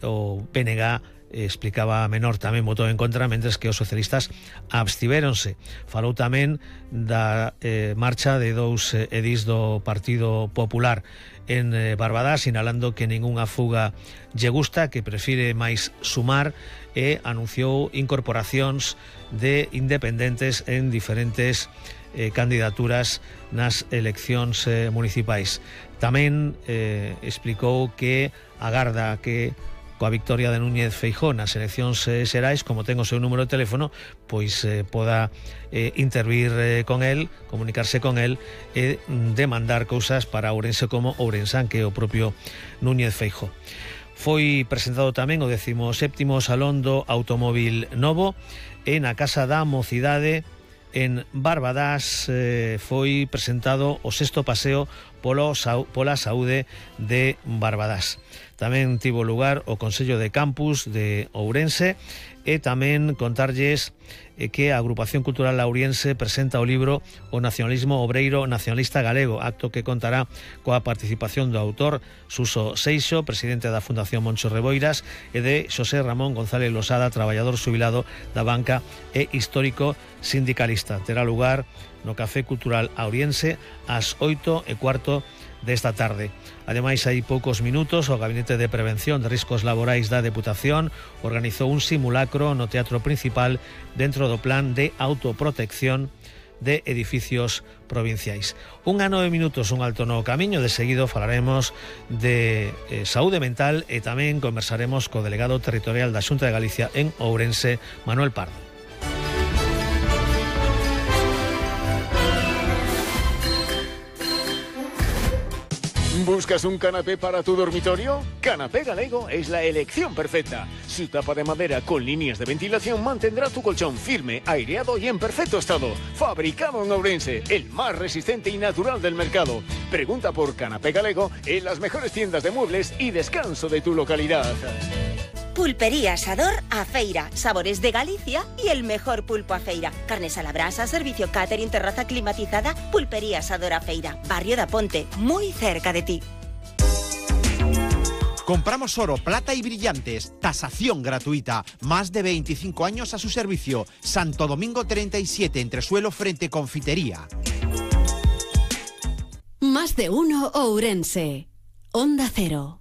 o PNG explicaba a menor tamén votou en contra, mentres que os socialistas abstivéronse. Falou tamén da marcha de dous edís do Partido Popular en Barbadás, sinalando que ningunha fuga lle gusta, que prefire máis sumar, e anunciou incorporacións de independentes en diferentes candidaturas nas eleccións municipais. Tamén explicou que agarda que coa victoria de Núñez Feijóo nas eleccións xerais, como ten o seu número de teléfono, pois poda intervir con el, comunicarse con el e demandar cousas para Ourense como Ourensán, que é o propio Núñez Feijóo. Foi presentado tamén o 17º Salón do Automóvil Novo e na Casa da Mocidade en Barbadás foi presentado o 6º paseo pola saúde de Barbadás. Tamén tivo lugar o Consello de Campus de Ourense e tamén contarlles que a Agrupación Cultural Lauriense presenta o libro O Nacionalismo Obreiro Nacionalista Galego, acto que contará coa participación do autor Suso Seixo, presidente da Fundación Moncho Reboiras, e de Xosé Ramón González Losada, traballador xubilado da banca e histórico sindicalista. Terá lugar no Café Cultural Auriense ás 8:15 desta tarde. Ademais, hai poucos minutos, o Gabinete de Prevención de Riscos Laborais da Deputación organizou un simulacro no Teatro Principal dentro do Plan de Autoprotección de Edificios Provinciais. 1:09, un alto no camiño. De seguido falaremos de saúde mental e tamén conversaremos co delegado territorial da Xunta de Galicia en Ourense, Manuel Pardo. ¿Buscas un canapé para tu dormitorio? Canapé Galego es la elección perfecta. Su tapa de madera con líneas de ventilación mantendrá tu colchón firme, aireado y en perfecto estado. Fabricado en Ourense, el más resistente y natural del mercado. Pregunta por Canapé Galego en las mejores tiendas de muebles y descanso de tu localidad. Pulpería Asador a Feira, sabores de Galicia y el mejor pulpo a feira. Carnes a la brasa, servicio catering, terraza climatizada. Pulpería Asador a Feira, Barrio da Ponte, muy cerca de ti. Compramos oro, plata y brillantes, tasación gratuita, más de 25 años a su servicio. Santo Domingo 37, entresuelo frente Confitería. Más de uno Ourense. Onda Cero.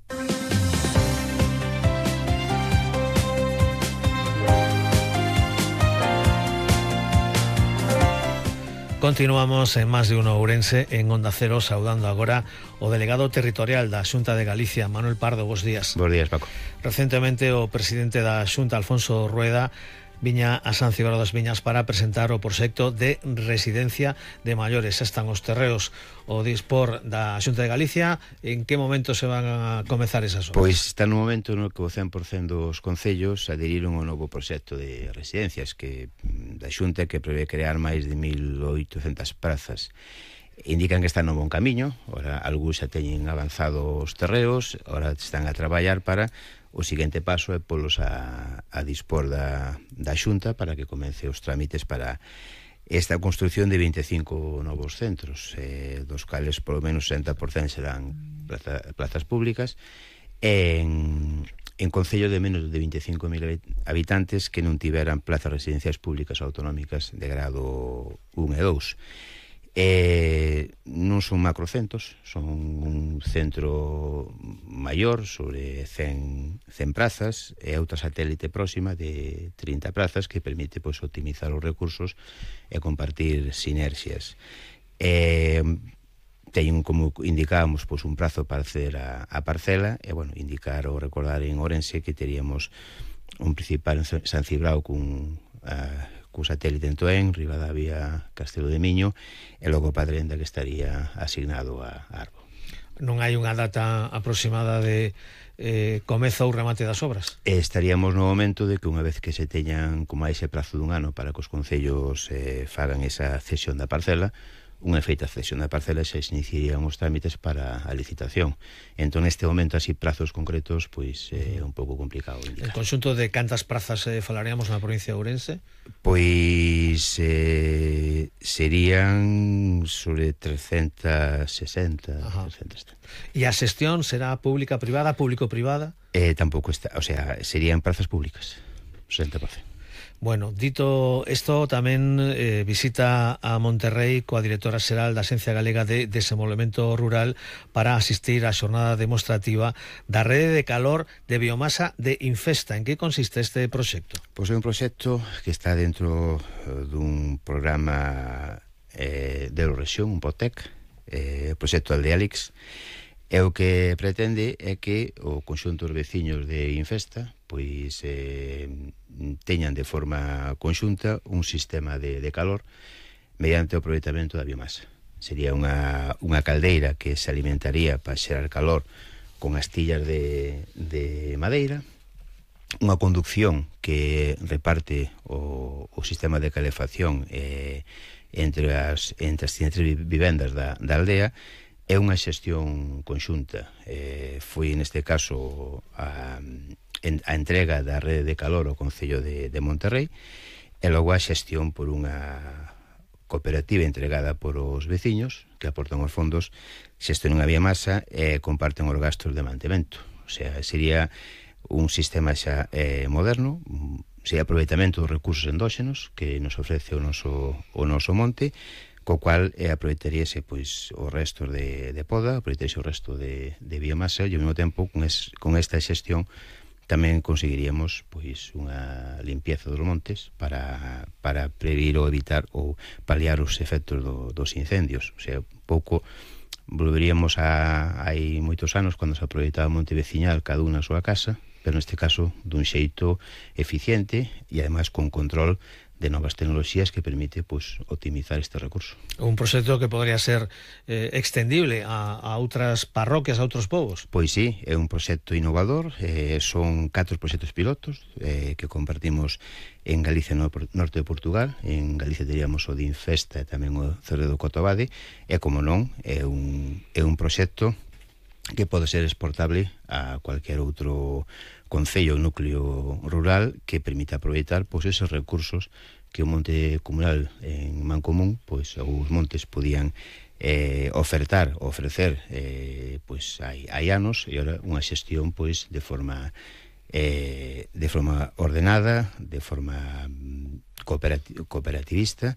Continuamos en Más de uno Ourense en Onda Cero, saudando agora o delegado territorial da Xunta de Galicia, Manuel Pardo. Bos días. Bos días, Paco. Recentemente o presidente da Xunta, Alfonso Rueda, viña a San Cibrao das Viñas para presentar o proxecto de residencia de maiores. Están os terreos o dispor da Xunta de Galicia. En que momento se van a comezar esas obras? Pois está no momento no que o 100% dos concellos adheriron ao novo proxecto de residencias que da Xunta, que prevé crear máis de 1.800 prazas. Indican que están no bon camiño. Ora, algúns xa teñen avanzado os terreos, ora están a traballar para o seguinte paso é polos a dispor da Xunta para que comece os trámites para esta construcción de 25 novos centros, dos cales polo menos 60% serán plazas públicas, en concello de menos de 25.000 habitantes que non tiveran plazas residenciais públicas autonómicas de grado 1 e 2. Non son macrocentros, son un centro maior sobre 100 prazas e outra satélite próxima de 30 prazas que permite optimizar os recursos e compartir sinerxias. Teñen, como indicábamos, un prazo para acceder a parcela e, indicar ou recordar en Ourense que teríamos un principal en San Cibrao cun satélite en Toén, Ribadavia, Castelo de Miño e logo Padrenda, que estaría asignado a Arbo. Non hai unha data aproximada de comezo ou remate das obras? Estaríamos no momento de que unha vez que se teñan como a ese prazo dun ano para que os concellos fagan esa cesión da parcela, unha feita cesión da parcela xa se iniciarían os trámites para a licitación. Entón, neste momento, así, prazos concretos, pois é un pouco complicado indicar. En conxunto de cantas prazas falaríamos na provincia de Ourense? Pois serían sobre 360, 370. E a xestión será pública-privada, público-privada? Tampouco está, o sea, serían prazas públicas, 60%. Bueno, dito isto, tamén visita a Monterrey coa directora xeral da Axencia Galega de Desenvolvemento Rural para asistir á xornada demostrativa da rede de calor de biomasa de Infesta. En que consiste este proxecto? Pois é un proxecto que está dentro dun programa de Eurorexión, un POTEC, o proxecto Aldealix, e o que pretende é que o conxunto dos veciños de Infesta pois teñan de forma conxunta un sistema de calor mediante o aproveitamento da biomasa. Sería unha caldeira que se alimentaría para xerar calor con astillas de madeira, unha conducción que reparte o sistema de calefacción entre as vivendas da aldea. É unha xestión conxunta. Foi neste caso a entrega da rede de calor ao Concello de Monterrey e logo a xestión por unha cooperativa entregada por os veciños que aportan os fondos, xestionan a biomasa e comparten os gastos de mantemento. O sea, sería un sistema xa moderno, sería aproveitamento dos recursos endóxenos que nos ofrece o noso monte, co cual aproveitaríase pois os restos de poda, aproveitaríase o resto de biomasa e ao mesmo tempo con esta xestión tamén conseguiríamos pois unha limpieza dos montes para prevenir ou evitar ou paliar os efectos dos incendios. O sea, un pouco volveríamos a hai moitos anos cando se aproveitaba o monte veciñal cada unha na súa casa, pero neste caso dun xeito eficiente e ademais con control de novas tecnoloxías que permite pois optimizar este recurso. Un proxecto que podría ser extendible a outras parroquias, a outros povos. Pois sí, é un proxecto innovador, son 4 proxectos pilotos que compartimos en Galicia, no norte de Portugal. En Galicia teríamos o de Infesta e tamén o Cerro do Cotobade, e como non, é un proxecto que pode ser exportable a cualquier outro concello ou núcleo rural que permita aproveitar pois esos recursos que o monte comunal en Mancomún, pois os montes podían ofrecer pois hai anos, e agora unha xestión pois de forma ordenada, de forma cooperativista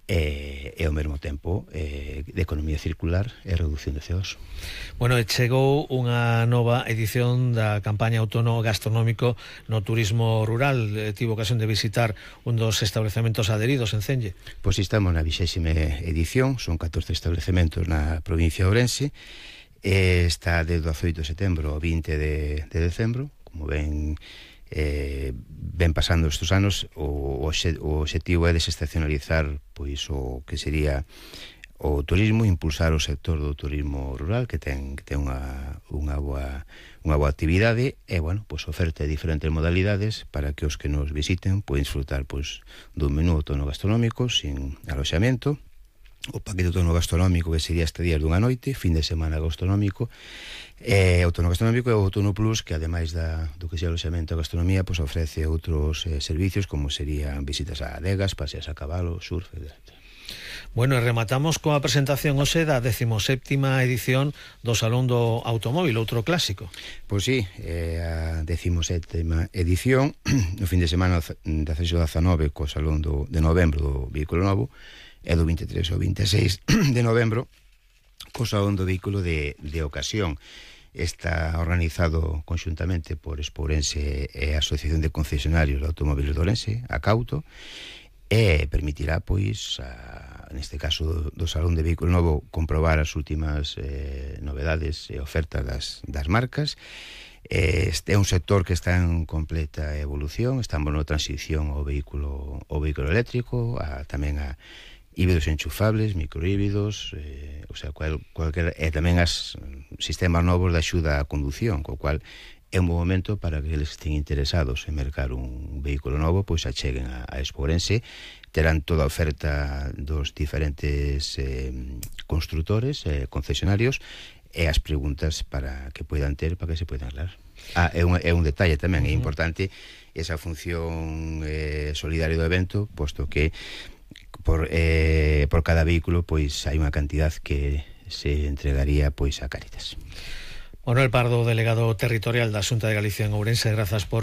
e ao mesmo tempo de economía circular e reducción de CO2. Bueno, chegou unha nova edición da campaña Outono Gastronómico no turismo rural. Tivo ocasión de visitar un dos establecementos adheridos en Celle. Pois estamos na 20ª edición, son 14 establecementos na provincia de Ourense, está de 18 de setembro ao 20 de decembro, como ven pasando estes anos. O obxectivo é desestacionalizar pois o que sería o turismo, impulsar o sector do turismo rural que ten unha boa actividade e, bueno, pois oferta diferentes modalidades para que os que nos visiten poden disfrutar pois dun menú outono gastronómico sin aloxamento, o paquete outono gastronómico que sería estadías dunha noite, fin de semana gastronómico, outono gastronómico e o outono plus que ademais do que sea o aloxamento e gastronomía pois ofrece outros servicios como serían visitas a adegas, paseas a cabalo, surf, etc. Bueno, e rematamos coa presentación hoxe da 17ª edición do Salón do Automóvil, outro clásico. Pois sí, a 17ª edición, no fin de semana 18-19 co Salón de novembro do Vehículo Novo, e do 23 ao 26 de novembro co Salón do Vehículo de ocasión. Está organizado conxuntamente por Expo Ourense e a Asociación de Concesionarios de Automóviles de Ourense, a Cauto, e permitirá, pois, neste caso do Salón de Vehículo Novo, comprobar as últimas novedades e ofertas das marcas. Este é un sector que está en completa evolución, estamos na transición ao vehículo eléctrico, tamén a híbridos enchufables, microhíbridos, o sea, cualquier, e tamén as sistemas novos de axuda á condución, co cual é un bom momento para que eles estén interesados en mercar un vehículo novo, pois acheguen a Expo Ourense. Terán toda a oferta dos diferentes constructores, concesionarios, e as preguntas para que poidan ter, para que se poidan aclarar. É un detalle tamén, é importante esa función solidaria do evento, posto que por cada vehículo pois hai unha cantidad que se entregaría pois a Cáritas. Manuel Pardo, delegado territorial da Xunta de Galicia en Ourense, grazas por